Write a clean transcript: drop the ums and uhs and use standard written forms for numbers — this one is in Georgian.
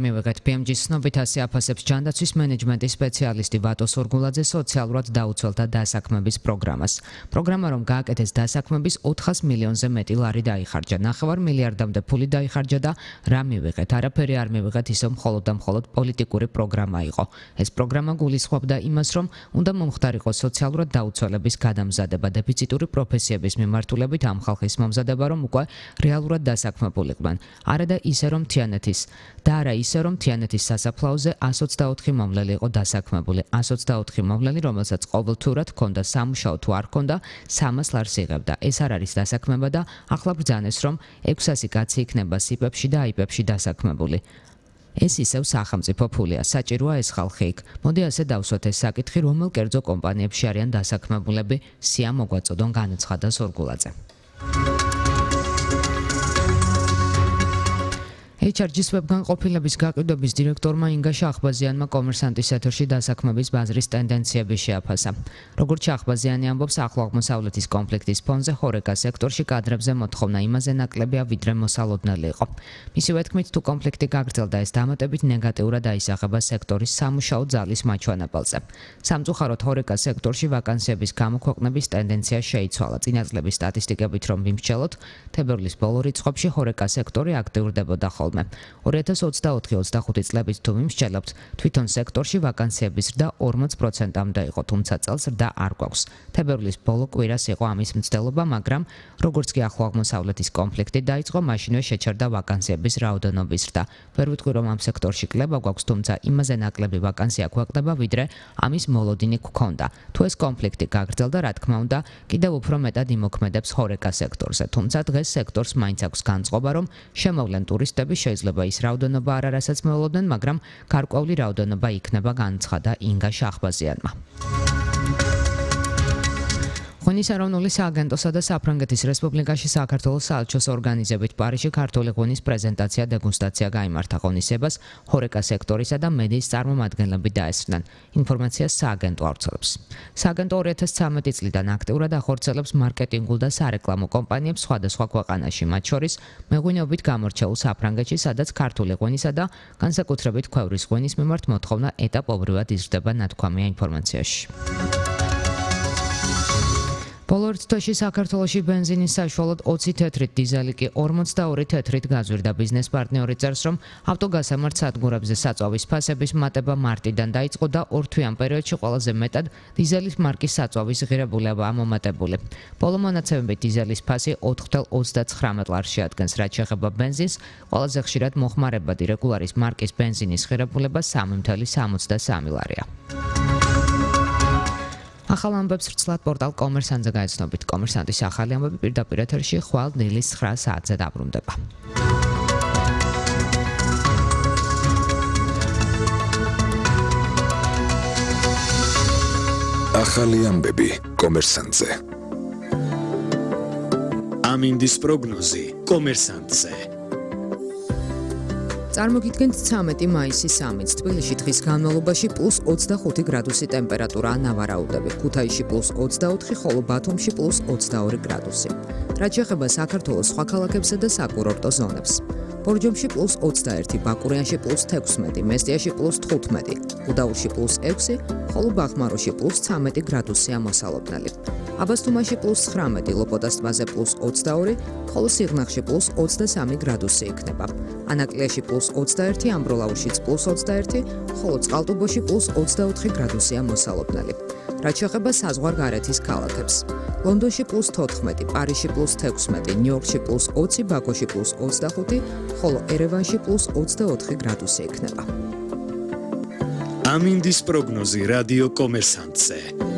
მივიღეთ BMG-ის ცნობით ასე აფასებს ჯანდაცვის მენეჯმენტის სპეციალისტი ვატო სორგულაძე სოციალურად დაუცველთა დასაქმების პროგრამას. პროგრამა რომ გააკეთეს დასაქმების 400 მილიონზე მეტი ლარი დაიხარჯა. 9 მილიარდამდე ფული დაიხარჯა და რა მივიღეთ? არაფერი არ მივიღეთ, ისევ მხოლოდ და მხოლოდ პოლიტიკური პროგრამა იყო. ეს პროგრამა გულისხმობდა იმას, რომ უნდა მომხდარიყო სოციალურად დაუცველების გადამზადება, დეფიციტური პროფესიების მიმართულებით ამ ხალხის მომზადება, რომ უკვე რეალურად დასაქმებულიყვნენ. არა და ისე რომ თიანეთის და არა ისე რომ თიანეთის სასაფლაოზე 124 მომლელი იყო დასაქმებული. 124 მომლელი, რომელსაც ყოველთურად ჰქონდა სამუშაო თუ არ ჰქონდა, 300 ლარს იღებდა. ეს არ არის დასაქმება და ახლა ბრძანეს, რომ 600 კაცი იქნება სიპებში და აიპებში დასაქმებული. ეს ისევ სახელმწიფო ფულია, საჭიროა ეს ხალხი იქ. მოდი ასე დავსვათ ეს საკითხი, რომელ კერძო კომპანიებში არიან დასაქმებულები, სია მოგვაწოდონ, განაცხადა სორგულაძე. HRG-ის ვებგანყოფილების გაყიდვების დირექტორმა ინგა შახბაზიანმა კომერსანტის ეთერში დასაქმების ბაზრის ტენდენციები შეაფასა. როგორც შახბაზიანი ამბობს, ახლო აღმოსავლეთის კონფლიქტის ფონზე ხორეკა სექტორში კადრებზე მოთხოვნა იმაზე ნაკლებია, ვიდრე მოსალოდნელი იყო. მისივე თქმით, თუ კონფლიქტი გაგრძელდა, ეს დამატებით ნეგატიურად აისახება სექტორის სამუშაო ძალის მაჩვენებელზე. სამწუხაროდ ხორეკა სექტორში ვაკანსიების გამოქვეყნების ტენდენცია შეიცვალა. წინა წლების სტატისტიკებით რომ ვიმსჯელოთ, თებერვლის ბოლო რიცხვებში ხორეკა სექტორი აქტიურდებოდა ხოლმე. 2024-25 წლებით თუ ვიმსჯელებთ, თვითონ სექტორში ვაკანსიების ზრდა 40%-მდე იყო, თუმცა წელს ზრდა არ გვაქვს. თებერვლის ბოლო კვირას იყო ამის მცდელობა, მაგრამ როგორც კი ახლო აღმოსავლეთის კონფლიქტი დაიწყო, მაშინვე შეჩერდა ვაკანსიების რაოდენობის ზრდა. ვერ ვიტყვი, რომ ამ სექტორში კლება გვაქვს, თუმცა იმაზე ნაკლები ვაკანსია გვეყდება, ვიდრე ამის მოლოდინი გვქონდა. თუ ეს კონფლიქტი გაგრძელდა, რა თქმა უნდა, კიდევ უფრო მეტად იმოქმედებს ხორეკა სექტორზე. თუმცა დღეს სექტორს მაინც აქვს განწყობა, რომ შემოვლენ ტურისტები, შეიძლება ის რაოდენობა არ არასაც მოვლოდნენ, მაგრამ გარკვეული რაოდენობა იქნება, განცხადა ინგა შახბაზიანმა. ღვინის ეროვნული სააგენტოსა და საფრანგეთის რესპუბლიკაში საქართველოს საელჩოს ორგანიზებით პარიზში ქართული ღვინის პრეზენტაცია დეგუსტაცია გაიმართა. ღონისებას ხორეკა სექტორისა და მედიის წარმომადგენლები დაესწრნენ. ინფორმაციას სააგენტო ავრცელებს. სააგენტო 2013 წლიდან აქტიურად ახორციელებს მარკეტინგულ და სარეკლამო კომპანიებს სხვადასხვა ქვეყანაში, მათ შორის მეღვინეობით გამორჩეულ საფრანგეთში, სადაც ქართული ღვინისა და განსაკუთრებით ქვევრის ღვინის მიმართ მოთხოვნა ეტაპობრივად იზრდება, ნათქვამია ინფორმაციაში. ბოლო ერთ თვეში საქართველოში ბენზინის საშუალოდ 20 თეთრით, დიზელი კი 42 თეთრით გაზვირდა. ბიზნეს პარტნიორი წერს, რომ ავტოგასამართ სადგურებზე საწვავის ფასების მატება მარტიდან დაიწყო და 2 თვიან პერიოდში ყველაზე მეტად დიზელის მარკის საწვავის ღირებულებაა მომატებული. ბოლო მონაცემებით დიზელის ფასი 4.39 ლარს შეადგენს, რაც შეეხება ბენზინს, ყველაზე ხშირად მოხმარებადი რეგულარის მარკის ბენზინის ღირებულება 3.63 ლარია. ახალ ამბებს ვრცლად პორტალ კომერსანტზე გაეცნობით. კომერსანტის ახალი ამბები პირდაპირ ეთერში ხვალ დილის 9 საათზე დაბრუნდება. ახალი ამბები კომერსანტზე. ამინდის პროგნოზი კომერსანტზე. წარმოგიდგენთ 13 მაისის ამით. თბილისში დღის განმავლობაში +25 გრადუსი ტემპერატურაა, ნავარაუდები. ქუთაისში +24, ხოლო ბათუმში +22 გრადუსი. რაც შეეხება საქართველოს სხვა ქალაქებსა და საკურორტო ზონებს. ბორჯომში +21, ბაკურიანში +16, მესტიაში +15, გუდაურში +6, ხოლო ბახმაროში +13 გრადუსია მოსალოდნელი. აბასთუმანში +19, ლოპოტას ტბაზე +22, ხოლო სიღნაღში +23 გრადუსი იქნება. ანაკლიაში +21, ამბროლაურშიც +21, ხოლო წყალტუბოში +24 გრადუსია მოსალოდნელი. რაც შეეხება საზღვარგარეთის ქალაქებს. ლონდონში +14, პარიზში +16, ნიუ-იორკში +20, ბაქოში +25, ხოლო ერევანში +24 გრადუსი იქნება. ამინდის პროგნოზი რადიო კომერსანტზე.